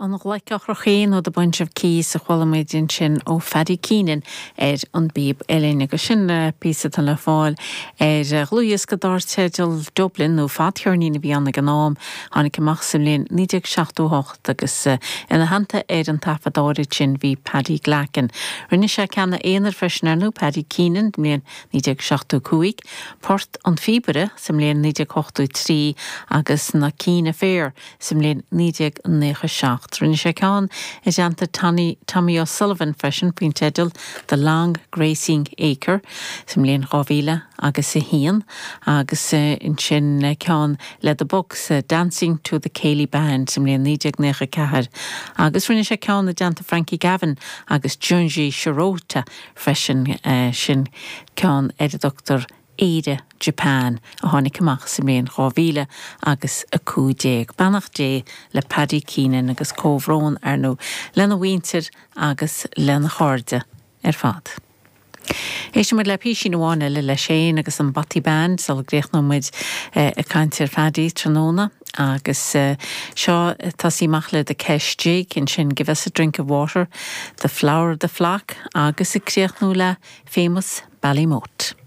An Ghlaic Ocrach Í nó The Bunch of Keys a chuala muid ansin ó Phaddy Keenan ar an bpíob uilleann agus sin píosa atá le fáil ar dhlúthdhiosca dar teideal Dublin nó fadcheirnín a bhí ann ag an am, tháinig amach sa mbliain 1978 agus ina theannta ar an taifead áirid sin bhí Paddy Glackin. Rinne sé ceanna aonair freisin ar ndóigh, Paddy Keenan, mbliain 1975, Port an Phíobaire sa mbliain 1983 agus Na Keane Affair sa mbliain 1997. Rinne sé ceann i dteannta Tony, Tommy O'Sullivan freisin faoin teideal The Long Grazing Acre sa mbliain 2000 agus 1 agus ansin ceann le The Bucks, Dancing to the Céilí Band sa mbliain 1994 agus rinne sé ceann i dteannta Frankie Gavin agus Junji Shirota freisin, sin ceann ar a dtugtar Éire Japan, a tháinig amach sa mbliain 2000 agus 15. Beannacht Dé le Paddy Keenan agus comhbhrón, ar ndóigh, lena mhuintir agus lena chairde ar fad. Éistfidh muid le písín amháin eile leis féin agus an Bothy Band sula gcríochnóidh muid ag caint ar Phaddy tráthnóna agus seo ag tosaí amach le The Kesh Jig, ansin Give Us a Drink of Water, The Flower of the Flock agus ag críochnú le Famous Ballymote.